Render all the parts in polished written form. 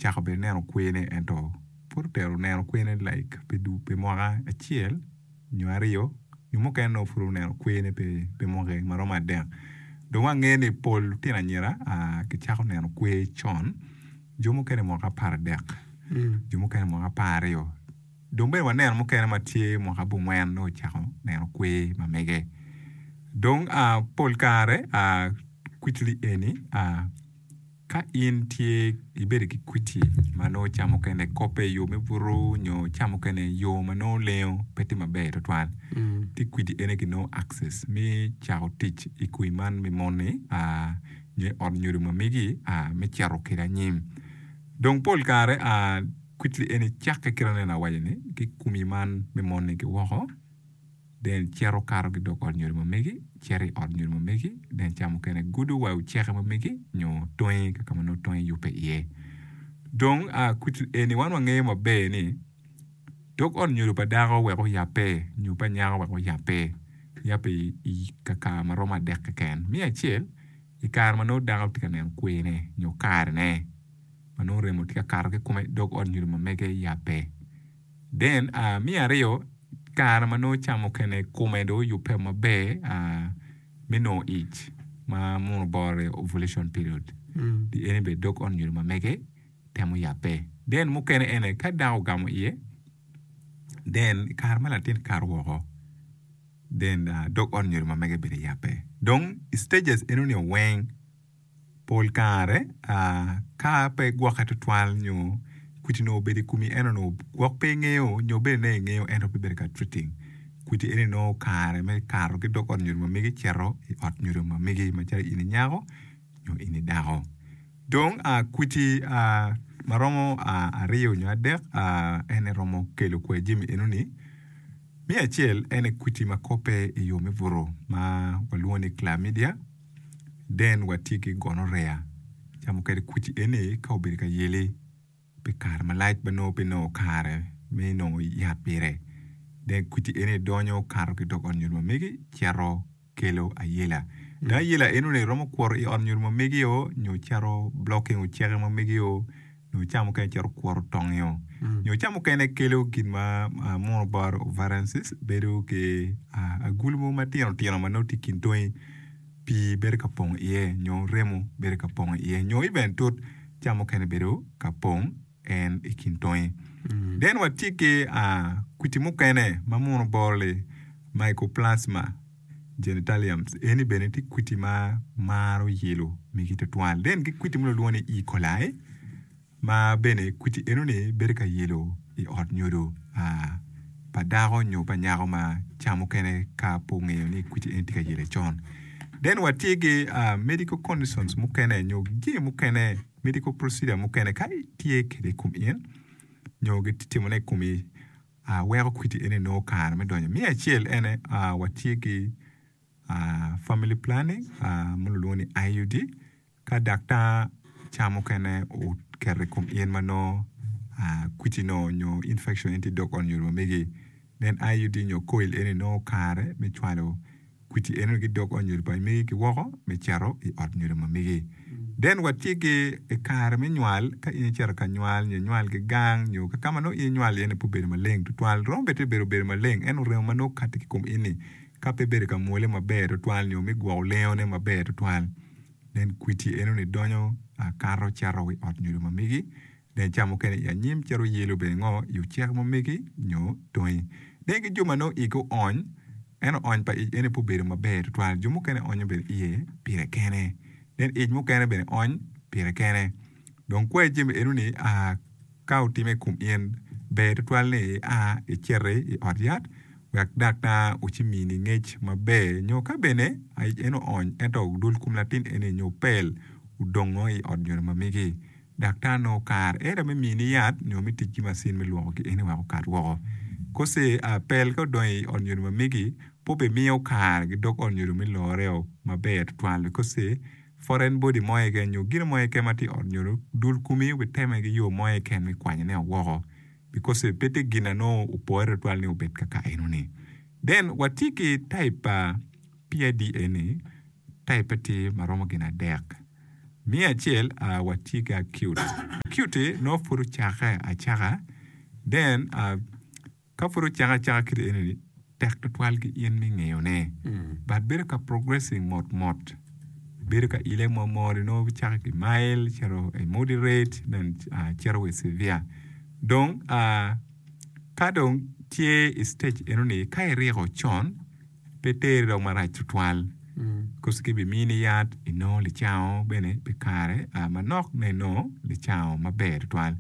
ocako bene neno kwene ento pud otero neno kwene like pi mwaka acel nyo aryo nyo mukene nongo pud oneno kwene pi mwaki ma romo adek. Dong wangeyo ni pol lutino anyira gicako neno kwer con, jo mukene mwaka aparadek, jo mukene mwaka apararyo. Dong bene waneno mukene ma tye mwaka abongwen nongo ocako neno kwer ma mege. Dong pol kare kwicli eni Ka in tye ibedo ki kwiti ma nongo ca mukene kope i yo me buto nyo ca mukene yo ma nongo lengo pe tye maber tutwal, ci kwiti eni kinongo access me cako tic i kwi man me mon-ni nyo i ot nyodo ma megi me cito kwede anyim. Dong pol kare kwiti eni cakke kit ma aneno awaco-ni ki komi man me mon-ni ki woko. Then cito kato ki dog ot nyodo ma megi, cito i ot nyodo ma megi, then ca mukene gudo wa i oceke ma megi nyo tongi ka ma nongo tongi yubbe iye. Dong kwit eni wan wangeyo maber ni dog ot nyodo pa dako wek oyabbe nyo pa nyako wek oyabbe, yabbe i kakare ma romo adek keken. Me acel i kare ma nongo dako tye ka neno kwene nyo karene ma nongo remo tye ka kato ki i kome dog ot nyodo ma mege yabbe. Then me aryo, kare ma nongo ca mukene kome dong oyubbe maber me nongo ic ma muno boro ovulation period pi eni bene dog ot nyodo ma mege temo yabbe. Then mukene ene ka dako ogamo iye then i kare ma latin kato woko then dog ot nyodo ma mege bene yabbe. Dong i stages enoni weng Pol kare ka pe igwokke tutwal nyo kwiti nongo obedo i komi ento nongo gwok pe ingeyo nyo bene nongo ingeyo ento pe ibedo ka treating kwiti eni nongo kare me kato ki dog ot nyodo ma megi cito i ot nyodo ma megi macalo in i nyako nyo in i dako. Dong kwiti ma romo aryo nyo adek en aye romo kelo kwer jami enoni. Me acel en aye kwiti ma kope i yo me buto ma walwongo ni chlamydia. Then watye ki gonorrhea camo kede kuc eni ka obedo ka yeli pi kare malac ma nongo pe inongo kare me nongo yat pire then kuc eni donyo kato ki dog ot nyodo ma megi cito kelo ayela dong ayela enoni romo kwoto i ot nyodo ma megi o nyo cito blocking oceke ma megi o nyo ca mukene cito kwoto tongi-o nyo ca mukene kelo gin ma muno bot ovarian cyst bedo ki agulu mogo matino tino ma nongo tye i kin tongi pii bedo ka pong iye nyo remo bedo ka pong iye nyo even tut ca mukene bedo ka pong en i kin tongi. Then watye ki kwiti mukene ma muno boro-li mycoplasma. Genitaliums eni bene tye kwiti ma maro yelo megi tutwal. Then ki kwiti ma lwongo ni E. coli ma bene kwiti enoni bedo ka yelo i ot nyodo pa dako nyo pa nyako ma ca mukene ka pe ongeyo ni kwiti eni tye ka yele con. Then watye ki medical conditions mukene nyo jami mukene medical procedure mukene ka itye kwede i kom in nyo gitye timone i komi weko kwiti eni nongo kare me donyo. Me acel ene watye ki family planning ma lulwongo ni IUD ka daktar ca mukene oketo i kom in ma nongo kwiti nongo nyo infection eni tye i dog ot nyodo ma megi then IUD nyo coil eni nongo kare me cwalo kwiti enoni ki dog ot nyodo pa megi ki woko me cito i ot nyodo ma megi. Then watye ki i kare me nywal, ka in icito ka nywal nyo inywal ki gang nyo ka ka ma nongo in inywal iye ni pe obedo maleng tutwal, romo bed tye bedo obedo maleng ento remo ma nongo kati ki kom in ni ka pe ibedo ka mwole maber tutwal nyo me gwoko lengone maber tutwal then kwiti enoni donyo kato cito i ot nyodo ma megi. Dong ca mukene i anyim cito yelo bene ngo i ocek ma megi nyo tongi. Dong ki jo ma nongo igi oony, ento oony pa ic eni pe obedo maber tutwal. Jo mukene onyo bene iye pire kene. Then ic mukene bene ony pire kene. Dong kwayi jami enoni ka otime i kom in, ber tutwal ni ia iciti i ot yat wek daktar ocimini ngec maber nyo ka bene ic eno oony ento dul kom latin eni nyo pel odongo i ot nyodo ma megi. Daktar nongo kare either me mini yat nyo me tic ki macin me lwoko ki eni wek okat woko. Kose pel ka odonyo i ot nyodo ma megi pe obimiyo kare ki dog ot nyodo me loreo maber tutwal kose foreign body mo keken nyo gino mo keken ma tye i ot nyodo dul komi obiteme ki yo mo keken me kwanyone woko because pe tye gin na nongo opore tutwal ni obed kaka enoni. Then watye ki type pa PID eni type tye ma romo gin adek. Me acel watye ki acute. Acute nongo pud ocake acaka then ka pud ocake acaka kit eni tek tutwal ki in me ngeyo ne but bedo ka progressing mot mot bedo ka ile mot mot nongo cake ki mild cito i moderate then cito wa i severe dong ka dong tye i stage eno ni ka iriko con pe teri dok marac tutwal koso kibimini yat inongo licango bene pi kare manok me inongo licango maber tutwal.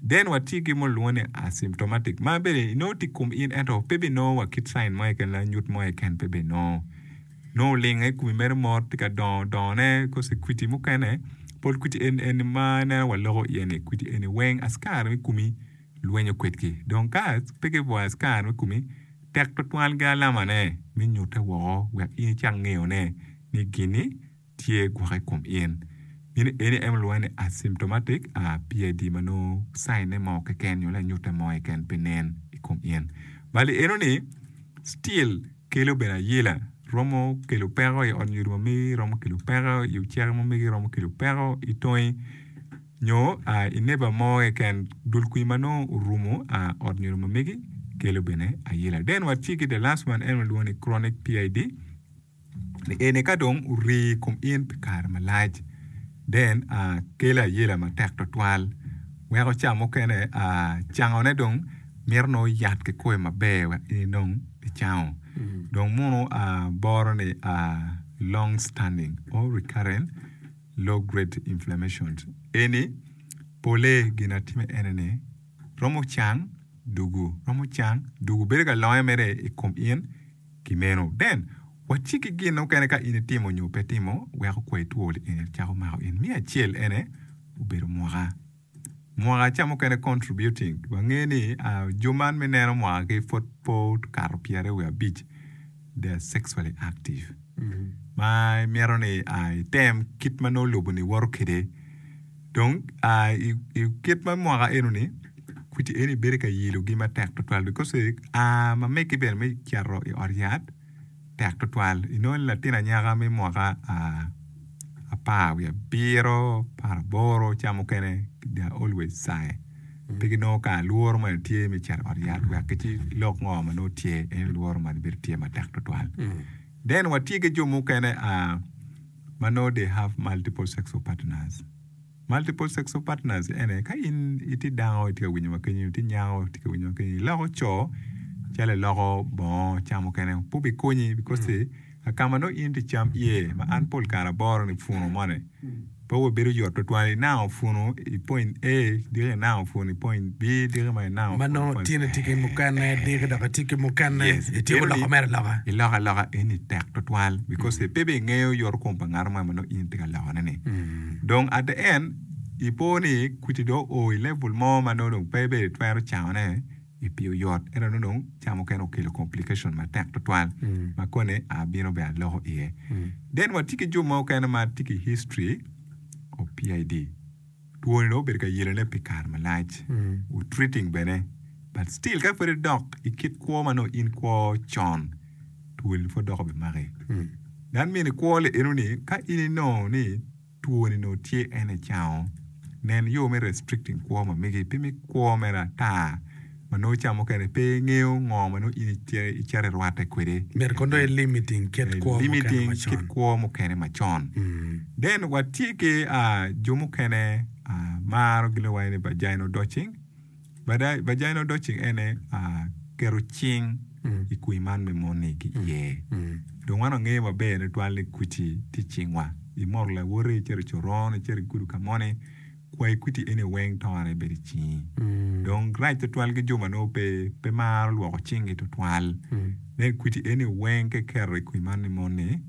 Then watye ki mo lwongo ni asymptomatic ma bene inongo tye i kom in ento pe binongo wa kit sign mo keken lanyut mo keken pe binongo nongo olingo i komi mere mot tye ka dongo dongone koso kwiti mukene pol kwiti eni ma ineno waloko iye ni kwiti eni weng askari me komi lwenyo kwedgi. Dong ka pe kibwoyo askari me komi, tek tutwal ki alamane me nyute woko wek in icak ngeyone ni gin-ni tye gwok i kom in. Meno eni aye ma kilwongo ni asymptomatic PID ma nongo caine mo keken nyo lanyute mo keken pe nen i kom in. Bal i eno-ni still kelo bene ayela, romo kelo peko i ot nyodo ma megi, romo kelo peko i oceke ma megi, romo kelo peko i tongi. Nyo i neba mo keken, dul kwir ma nongo orumo ot nyodo ma megi kelo bene ayela. Then watye ki the last one en walwongo ni chronic PID ni eni ka dong orii i kom in pi kare malac then kelo ayela matek twatwal weko ca mukene cangone dong mito nongo yat kikome maber wek in inong icango. Dong munu boro ni long standing or recurrent Low grade inflammations eni pole gin atime ene ni romo cang dugu romo cang dugu bedo ka longe mere i kom in ki meno then watye ki gin mukene ka in itimo nyo pe itimo weko kwai two eni cako mako in me acel ene obedo mwaka. Mwaka ca mukene contributing wange ni jo man me neno mwaka ki pwod pe okato pyeraryo wiye abic they are sexually active ma imito ni item kit ma nongo lobo ni woto kwede dong i kit ma mwaka eno ni kweci eni bedo ka yelogi matek tutwal because a ma megi bene me cito i ot yat tek tutwal. Inongo ni latin anyaka me mwaka apar wiye abiro, aparaboro ca mukene they are always shy pe ginongo kare lworo moni tye me cito i ot yat wek gici lok ngo ma nongo tye en lworo moni bedo tye matek tutwal. Then watye ki jo mukene ma nongo they have multiple sexual partners. Multiple sexual partners ene ka in itye dako itye ka winyo wa kenyo itye nyako itye ka winyo wa kenyo iloko co calo iloko bongo ca mukene pe obikonyi because ka ma nongo in itye cam iye ma an pol kare aboro ni punu moni pe obedo yot tutwal inango punu i point A diki inango punu i point B diki ma inango Ma nongo tyen itye ki mukene diki dok itye ki mukene Yes, ityeko loko mere aloka. Iloko aloka eni tek tutwal because pe bene ingeyo yoto kom pa ngat mo ma nongo in itye ka lokone ni. Dong at the end ipo ni kwiti dong oo i level mo ma nongo dong pe bene itwero cangone i pi oyot ento nongo dong ca mukene okelo complication matek tutwal ma koni abino bene aloko iye. Then watye ki jo mukene ma tye ki history of PID. Twoni dong obedo ka yelone pi kare malac, treating bene but still ka pud idok i kit kwo ma nongo in kwo con, twoni pud dok obimaki. That mean i kwo li eno ni ka in inongo ni twoni nongo tye en icango, nen yo me restricting kwo ma megi pe mi kwo mere ata ma nongo ca mukene pe ingeyo ngo ma nongo in icito irwatte kwede. Myero kono dong i limiting kit kwo mukene Limiting macon. kit kwo mukene macon. Then watye ki jo mukene maro gin ma waco ni vaginal douching. Vaginal douching ene keto cing i kwir man me mon-ni ki iye. Dong wan wangeyo maber tutwal ni kweci tye i cingwa. Imoto lawoti, icito i coron, icito igudo ka moni, kwayi kweci eni weng tone bedo i cingi. Dong rac tutwal ki jo ma nongo pe pe maro lwoko cingi tutwal. Nen kweci eni weng ka iketo i kwir man me mon-ni,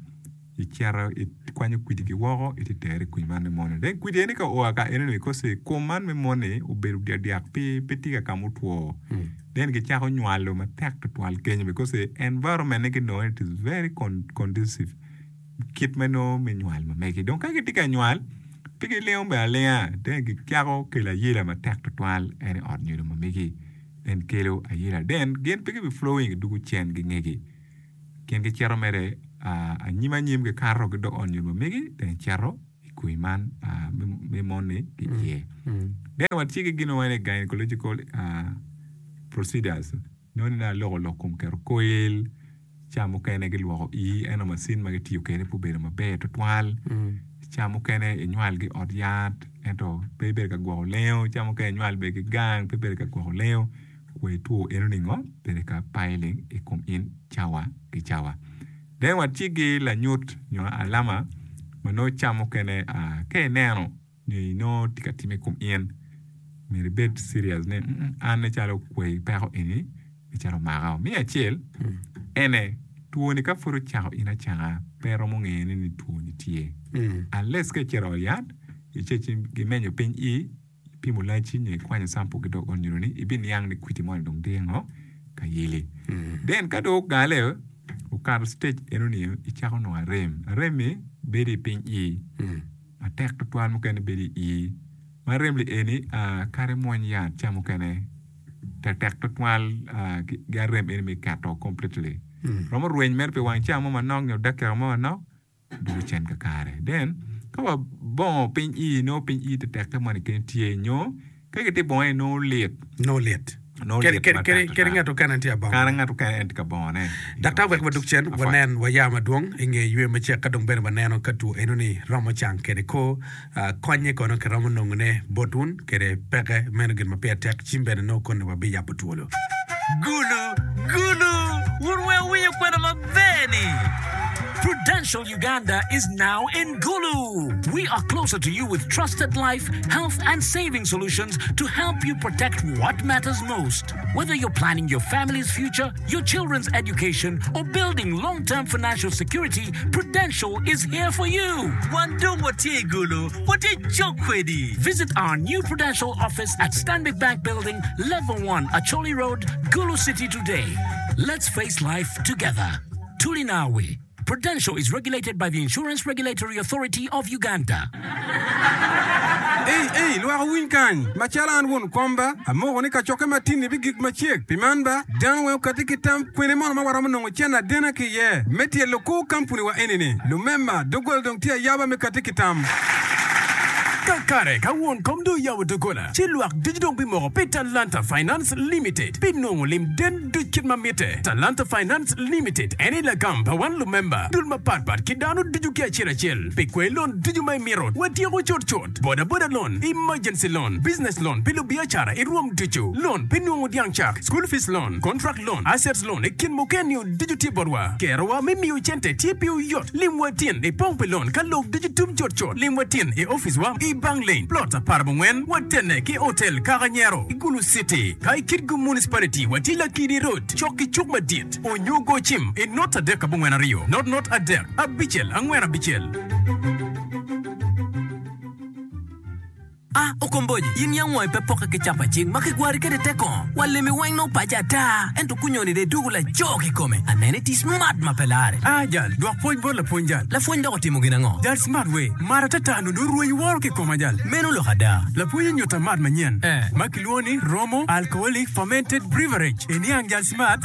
icito ikwanyo kwidigi woko iti tere i kwiny man me moni. Then kwidi eni ka oa ka enoni kosi kom man me moni obedo dyakdyak pi pe tye ka ka mutwo then gicako nywalo matek tutwal kenyo because environment ne ginongo ni it is very conducive kit me nongo me nywal ma megi. Dong ka gitye ka nywal pe gilingo bene alinga then gicako kelo ayela matek tutwal en i ot nyodo ma megi then kelo ayela then gin pe gibi flowing gidwogo cen ki ngegi. Gin gicito mere anyim anyim gikato ki dog ot nyo ma megi dong gicito i. kwi man me mon-ni ki iye. Then watye ki gin ma wawaco ni gynecological procedures nongo ni dong aloko lok kom keto koil ca mukene gilwoko ii ento macin ma gitiyo kwede pe obedo maber tutwal ca mukene inywal ki i ot yat ento pe ibedo ka gwoko lengo ca mukene inywal bene ki gang pe ibedo ka gwoko lengo wa two eno ningo bedo ka piling i kom in cawa ki cawa. Then watye ki lanyut nyo alama ma nongo ca mukene ka ineno nyo inongo tye ka timme i kom in myero ibed serious ni an nen calo kwai peko eni nen calo omaka. Me acel ene twoni ka pud ocako in acaka pe iromo ngeyone ni twoni tye unless ka icito i ot yat ci gimenyo piny ii ipimo lacci nyo ikwanyo sample ki dog ot ni ibiniang ni kwiti moni dong tye ngo ka yeli. Then ka dong ogale okato stage enoni icako nongo arem, arem-mi bedo i piny ii matek tutwal mukene bedo i ii ma arem-li eni kadi imwony yat ca mukene tektek tutwal ki arem eni me keto completely romo rweny mere pi wang ca mo manok nyo dakika mo manok dwogo cen kakare. Then ka wabongo piny ii nongo piny ii tetekke moni kene tye nyo ka gitye bongone nongo lit. Nongo lit. Nongo lit Kadi matek kadi tutwal. ngat okene en tye abongo. Kadi ngat okene en tye ka bongone. Daktar wek wadug cen Apwoc. wanen waya madwong i nge ywe macek ka dong bene waneno ka two enoni romo cang kede kor ah, konye kono kiromo nongone bot wun kede peke meno gin ma pire tek cim bene nongo koni wabiyabo twolo. Gulu, Gulu, wun weng wuwinyo kwena maber-ni! Prudential Uganda is now in Gulu! We are closer to you with trusted life, health and saving solutions to help you protect what matters most. Whether you're planning your family's future, your children's education, or building long-term financial security, Prudential is here for you! Wan dong watye i Gulu, watye cok kwedi! Visit our new Prudential office at Stanbic Bank Building, Level 1, Acholi Road, Gulu City today. Let's face life together. Tulinawe. Prudential is regulated by the Insurance Regulatory Authority of Uganda. Ei, ei, lwak wuwiny kany! Macalo an won kom ba, amoko ni kacokke matin-ni bigik macek. Pi man ba, dano weng okatti ki tam kwene mono ma waromo nongo cente adena ki iye me tyelo kor kampuniwa eni-ni. Lumemba, doggola dong tye ayaba me katti ki tam. Kakare, ka won kom dong oyabo doggola, ci lwak ducu dong bimoko pi Talanta Finance Limited pi nongo lim den duc kit ma mitte. Talanta Finance Limited en aye lagam pa wan lumemba, dul mapat pat ki dano ducu ki acel acel pi kwer lon ducu ma imito. Watyeko cut cut, boda boda loan, emergency loan, business loan pi lubiacara i rwom ducu, loan pi nongo dyang cak, school fees loan, contract loan, assets loan i kin mukene-ni ducu tye botwa. Kerowa me miyo cente tye pi oyot. Limwa tin i pong pi loan ka lok ducu tum cut cut. Limwa tin i opic wa i Bank Lane, plot aparabongwen, watene ki Hotel Kakanyero i Gulu City. Ka i Kitgum Municipality watye Lakidi Road cok ki cuk madit onyo go cim i not 3 42 not not 3 6 4 6. A Okomboji, in yam wangi pe pokke ki capa cing ma kigwari kwede te kongo. Wa lemi weng nongo paco ata, ento kunyoni dong idwogo laco kikome. Anene itye smart ma pe lare. A Jal, dwok pwoc bot lapwony jal. Lapwony dok otimo gin ango? Jal smart we, mar atata nongo dong orwenyo woro ki i koma jal. Meno lok ada. Lapwony onyuta mat manyen ma kilwongo ni Romo Alcoholic Fermented Breverage. Iniang jal smart?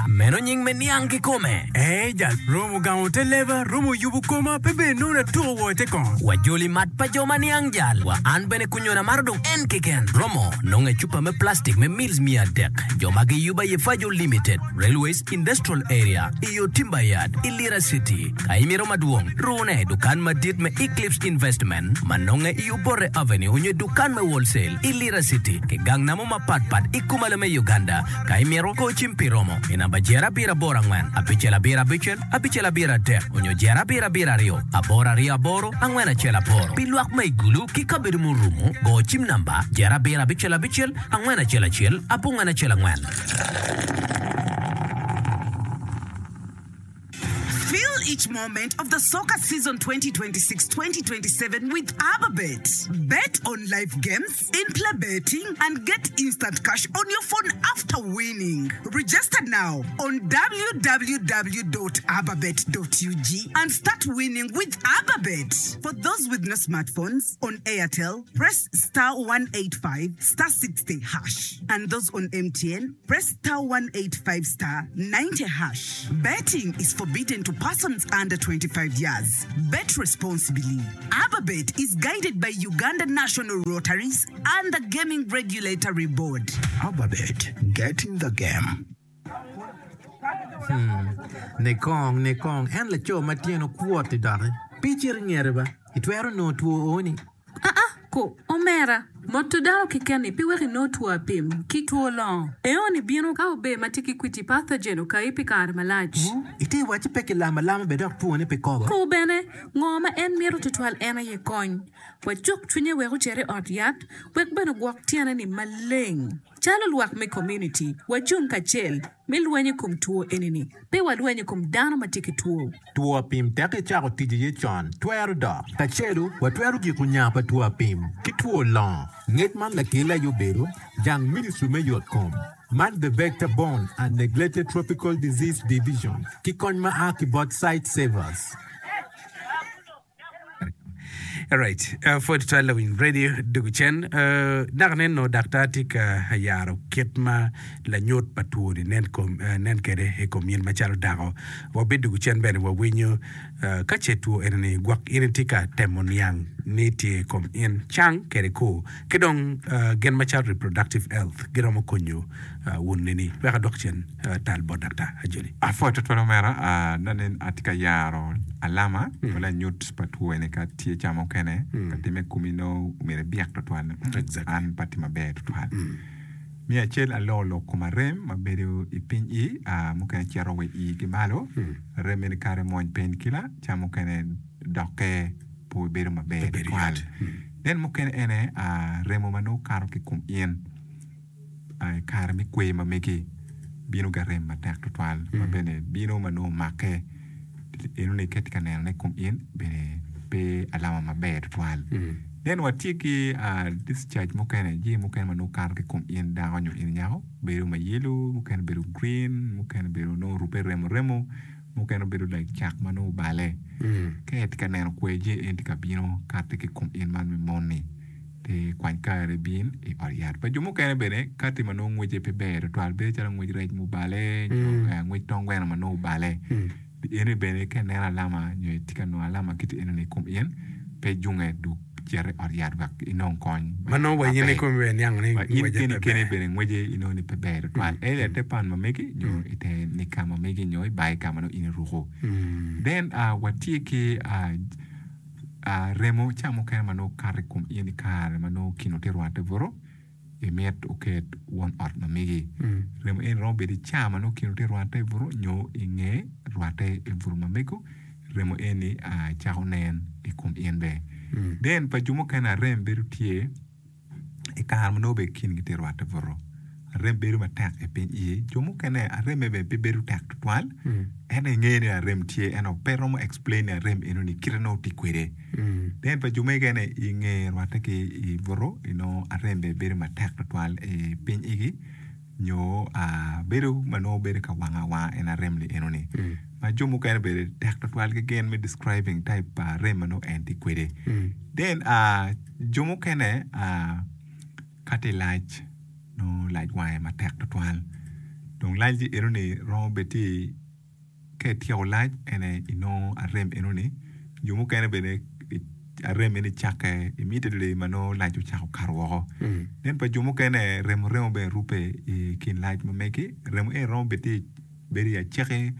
Meno nying me niang kikome. Ee jal, romo gamo te leba, romo yubo koma, pe bene nongo atuko woo i te kongo. Wajoli mat pa jo ma niang jal. Wa an bene kunyona amaro dong en keken. Romo nonge cupa me plastic me mils 300. Jo ma giyubo aye Fajo Limited, Railways Industrial Area, i yo Timber Yard, i Lira City. Ka imito madwong, rune i dukan madit me Eclipse Investment ma nonge i Obote Avenue onyo i dukan me Wholesale i Lira City ki gang namo mapat pat i kumalo me Uganda. Ka imito, go cim pi romo i namba jero abiro aboro angwen abicel abiro abicel abicel abiro adek onyo jero abiro abiro aryo aboro aryo aboro angwen acel aboro. Pi lwak ma i Gulu ki kabedo murumo, go cim namba jero abiro abicel abicel angwen acel acel abongwen acel angwen. Feel each moment of the soccer season 2026-2027 with Ababet. Bet on live games, in-play betting, and get instant cash on your phone after winning. Register now on www.ababet.ug and start winning with Ababet. For those with no smartphones, on Airtel, press star 185 star 60 hash. And those on MTN, press star 185 star 90 hash. Betting is forbidden to persons. Persons under 25 years. Bet responsibly. Ababet is guided by Uganda National Rotaries and the Gaming Regulatory Board. Ababet, get in the game. Hmm. Ne kong, ne kong, en laco ma tyene okwot-ti doki. Pe icit i ngete ba, itwero nongo two o-ni. Aa, ko, omera, moto dano keken-ni pe weko inongo two apim ki two longo. Eoni bino ka ober ma tye ki kwiti pathogen okayi pi kare malac. Ngo? Ite wacci pe kilamo alama bene dok twone pe kobo? Ko bene, ngo ma en mito tutwal en aye kony. Wacuk cwinye wek ocit i ot yat wek bene ogwok tyene-ni maleng. Calo lwak me komuniti, wacung kacel me lweny i kom two eni-ni. Pe walweny i kom dano ma tye ki two. Two apim tek icako tic iye con, twero dok. Kacelu, watwero giko nya pa two apim ki two longo. Ngec man lakele aye obedo jang Ministry me Yot Kom, man The Vector Borne and Neglected Tropical Disease Division ki kony ma a ki bot Sightsavers. Alright, uh, pwod twal lawiny radio dugu cen uh, dok neno daktar tye ka yaro kit ma lanyut pa two-ni nen, kom, uh, nen kede i kom in macalo dako. Wabidugu cen bene wawinyo uh, ka ce two eni-ni gwok in itye ka temo niang ni tye i kom in cang kede kor ki dong uh, gin macalo reproductive health giromo konyo uh, wun nini. Wek adok cen uh, tal bot daktar Ajoli. Apwoyo twatwal omera, aneno ni atye ka yaro alama ma lanyut pa two eni ka tye ca mukene ka timme i komi nongo myero ibyek twatwal an pe atye maber twatwal. Me acel aloko lok kom arem ma bedo i piny i mukene cito wa i ki malo arem meno kare mony pain killer ca mukene dokke pe bedo maber twatwal. Then mukene ene remo ma nongo kato ki i kom in. I kare me kwer ma megi bino ki arem matek tutwal ma bene bino ma nongo omakke enoni ka itye ka nenone i kom in bene pe alama maber tutwal. Then watye ki discharge mukene jami mukene ma nongo kato ki i kom in dako nyo in nyako bedo ma yellow mukene bedo green mukene bedo nongo orubbe remo remo mukene bedo like cak ma nongo obale ka itye ka neno kwer jami eni tye ka bino kati ki i kom in man me mon-ni. Pe kwany kare ibin i ot yat. Pa jo mukene bene, kati ma nongo ngwece pe ber tutwal bedo calo ngwec rec mubale nyo ngwec tong gweno ma nongo obale. Eni bene ka ineno alama nyo itye ka nongo alama kit enoni i kom in, pe ijunge duk cit i ot yat wek inong kony Ma nongo wa in maber. ikomi bene iniang ni Wa in ngwece keni pe keni ber. bene ngwece inongo ni pe ber tutwal. Either i te pan ma megi nyo i te nika ma megi nyo i bai ka ma nongo in iruko. Then watye ki Remo ca mukene ma nongo kato i kom in i kare ma nongo kino tye rwatte buto, imit oket won ot ma megi. Remo eni romo bedo i ca ma nongo kino tye rwatte buto nyo i nge rwatte i buto ma mego, remo eni cako nen i kom in bene. Then pa jo mukene arem bedo tye. I kare ma nongo bene kingi tye rwatte buto, arem bedo matek i piny iye. Jo mukene aremme bene pe bedo tek tutwal, ento ingeyo ni arem tye ento pe romo explain ni arem enoni kite nongo tye kwede. Then pa jo mukene i nge rwatte ki i buto inongo arem bene bedo matek tutwal i piny igi nyo bedo ma nongo bedo ka wang awanga en arem ni enoni. Ma jo mukene bene tek tutwal ki gin me describing type pa arem ma nongo en tye kwede. Then Jo mukene ka tye lac nongo lac wange matek tutwal dong lac enoni romo bed tye ka ityeko lac ene inongo arem enoni jo mukene bene arem eni cakke immediately ma nongo lac ocako kato woko nen pa jo mukene remo remo bene rube i kin lac ma megi remo eni romo bed tye bedo i acaki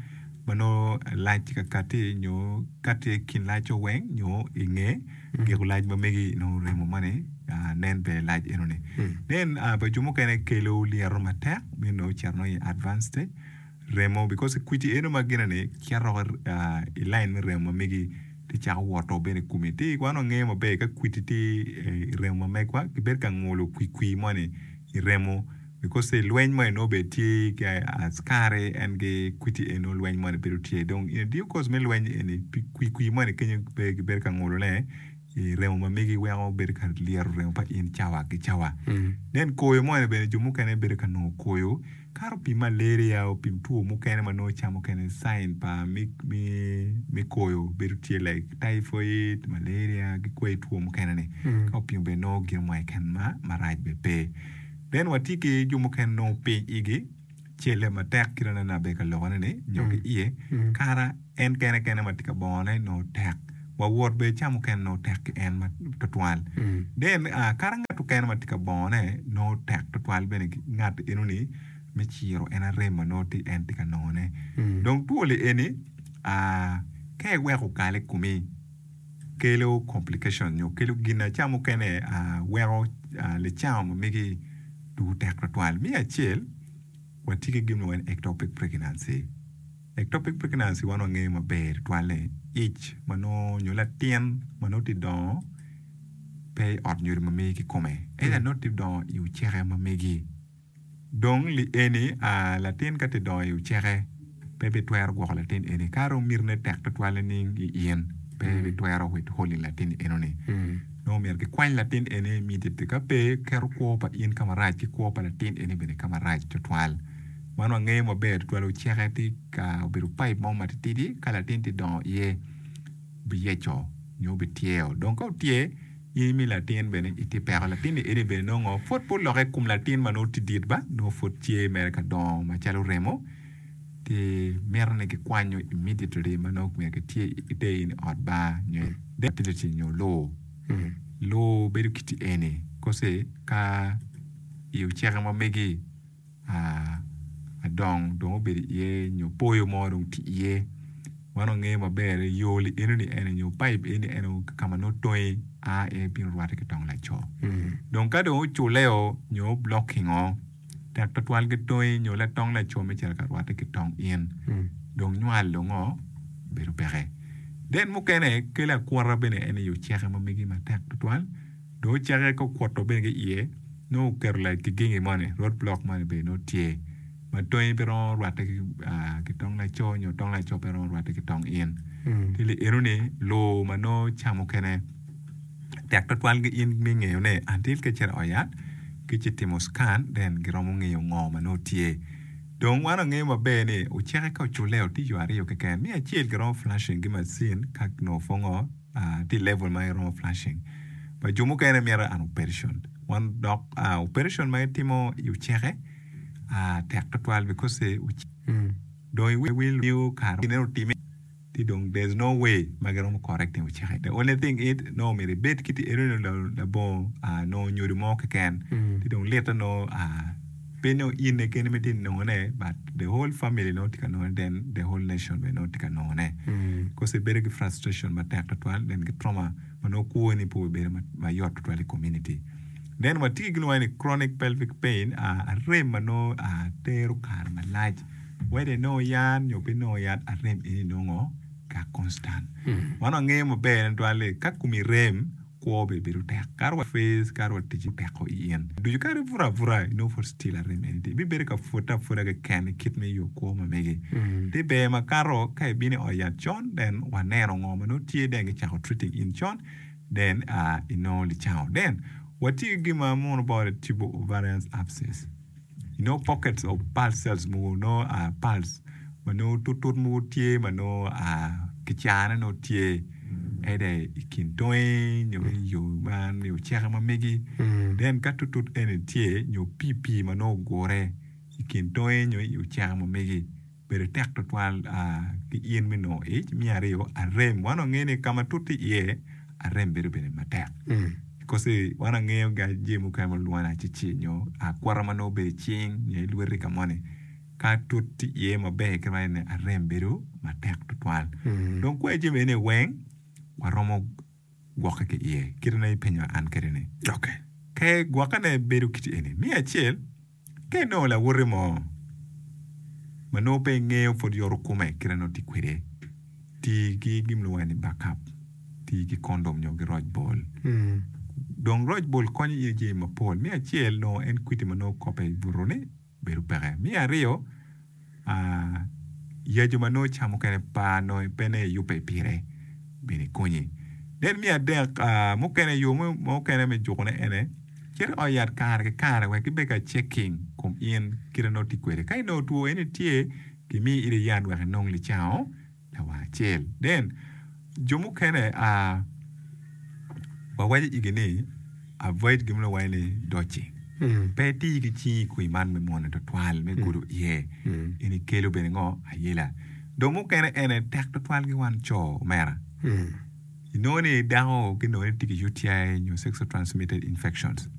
ma nongo lac tye ka kati nyo kati i kin lac-co weng nyo i nge giko lac ma megi nongo remo moni nen bene lac enoni. Then pa jo mukene kelo lyeto matek me nongo cito nongo i advance stage remo because kweci eno ma gine-ni cito i line me remo ma megi ti cako woto bene i komi. Ti wan wangeyo maber ka kweci tye i remo ma megwa kibedo ka ngulo kwikwi moni i remo Because i lweny moni nongo bene tye ki askari en ki kwiti eni nongo lweny moni bedo tye dong in due course me lweny eni kwi kwi moni kenyo pe gibedo ka ngulo ne i remo ma megi weko bedo ka lyero remo pa in cawa ki cawa then koyo moni bene jo mukene bedo ka nongo koyo kato pi malaria pi two mukene ma nongo ca mukene sign pa me koyo bedo tye like typhoid, malaria ki kwai two mukene ni ka opimo bene nongo gin mo keken marac bene pe. Then watye ki jo mukene nongo piny igi celle matek kit ma nene abedo ka lokone ni nyo ki iye kara en kene kene ma tye ka bongone nongo tek wa wot bene ca mukene nongo tek ki en tutwal then kara ngat mukene ma tye ka bongone nongo tek tutwal bene ki ngat enoni me ciro en arem ma nongo tye en tye ka nongone dong two li eni ka iweko okal i komi kelo complication nyo kelo gin ca mukene weko licango ma megi dwogo tek twatwal. Me acel, watye ki gin ma kilwongo ni ectopic pregnancy. Ectopic pregnancy wan wangeyo maber tutwal ni ic ma nongo nyo latin ma nongo tye dongo pe i ot nyodo ma megi kikome ento nongo tye dongo i oceke ma megi. Dong li eni latin ka tye dongo i oceke pe bitwero gwoko latin eni ka dong mitine tek tutwal nining i in pe bitwero withholding latin eno ni nongo myero kikwany latin eni immediately ka pe keto kwo pa in ka marac ki kwo pa latin eni bene ka marac tutwal. Man wangeyo maber tutwal oceke tye ka obedo pipe mo matitidi ka latin tye dongo iye biyeco nyo bityeo dong ka otye In imi latin bene itye peko latin ni eni bene nongo pwod pe oloke i kom latin ma nongo tye dit ba nongo pwod tye mere ka dongo macalo remo ti mito ni kikwanyo immediately ma nongo myero kitye iter in i ot bar nyo i fertility nyo lur lur bedo kiti eni kosi ka i oceke ma megi adong dong obedo iye nyo poyo mo dong tye iye wan wangeyo maber ni yo li enoni ene nyo paip eni ene ka ma nongo tongi a iye bino rwatte ki tong laco dong ka dong oculleo nyo oblockingo tek twatwal ki tongi nyo latong laco me cito ka rwatte ki tong in dong nywal dongo bedo peke. Then mukene kelo akwota bene en aye oceke ma megi matek twatwal. Dong oceke ka okwoto bene ki iye, nongo oketo like kigingi moni, road block moni bene nongo tye ma tongi pe romo rwatte ki tong laco nyo tong laco pe romo rwatte ki tong in. Ci li enoni lur ma nongo ca mukene tek twatwal ki in me ngeyo ne until ka icito i ot yat ki ci timo scan then giromo ngeyo ngo ma nongo tye. Dong wan wangeyo maber ni oceke ka oculle tye yo aryo keken, me acel giromo flashing ki macin ka nongo pwongo tye i level ma iromo flashing but jo mukene mito an operation wan dok operation ma itimo i oceke tek tutwal because dong iwil kare gine otime ti dong there is no way ma giromo correcting oceke the only thing is nongo myero ibed kiti enoni labongo nongo nyodo mo keken ti dong lite nongo Pe nongo in keken ma itye ka nongone but the whole family nongo tye ka nongone then the whole nation bene nongo tye ka nongone. Cause ibedo ki frustration matek tutwal then ki trauma ma nongo kwoni pe obedo mayot tutwal i community. Then watye ki gin ma kilwongo ni chronic pelvic pain arem ma nongo tero kare malac whether inongo yat nyo pe inongo yat arem eni nongo ka constant. Wan wangeyo maber tutwal ni ka komi rem Kwo bene bedo tek. Kadi wa face, kadi wa tic peko i in ducu, kadi ibuto abuta inongo pud still arem eni tye. Ibibedo ka pwote apwoda keken i kit me yo kwo ma megi. Tye ber makato ka ibino i ot yat con then waneno ngo ma nongo tye then gicako treating in con then inongo licango. Then watye ki gin ma muno bot ni tubo ovarian abscess. Inongo pockets of pulse cells mogo nongo pulse ma nongo tutut mogo tye ma nongo kicane nongo tye either i kin tongi nyo i yo man nyo oceke ma megi then ka tutut eni tye nyo pii pii ma nongo ogure i kin tongi nyo i oceke ma megi bedo tek tutwal ki in me nongo ic. Me aryo, arem. Wan wangeyo ni ka ma tut tye iye, arem bedo bene matek. Kosi wan wangeyo ga jami mukene ma lwongo ni acici nyo akwota ma nongo obedo i cing nyo i lweti ka moni. Ka tut tye iye maber kit ma eni arem bedo matek tutwal. Dong kwer jami eni weng waromo gwokke ki iye kit ma ipenyo an kwede ni. Ka gwokkene bedo kit eni, me acel, Ka inongo lawoti mo ma nongo pe ingeyo pwod yoto kome kite nongo tye kwede, ti ki gin ma kilwongo ni backup, ti ki kondom nyo ki roc bol. Dong roc bol konyo in i jami mapol. Me acel nongo en kwiti ma nongo kope i buto-ni bedo peke. Me aryo, Yaco ma nongo ca mukene par nongo pe ne iyubbe pire bene konyi. Then me adek mukene yo mukene me jukone ene cit i ot yat kare ki kare wek gibed ka checking kom in kite nongo tye kwede. Ka inongo two eni tye gimiyi ite yat wek inong licango lawang acel. Then jo mukene wawaco igi ni avoid gin ma wawaco ni dodging. Pe iti ki cingi i kwir man me mwone twatwal me gudo iye. Eni kelo bene ngo? Ayela. Dong mukene ene tek twatwal ki wan co omera. Inongo ni dako ginongo ni tye ki UTI nyo sexual transmitted infections.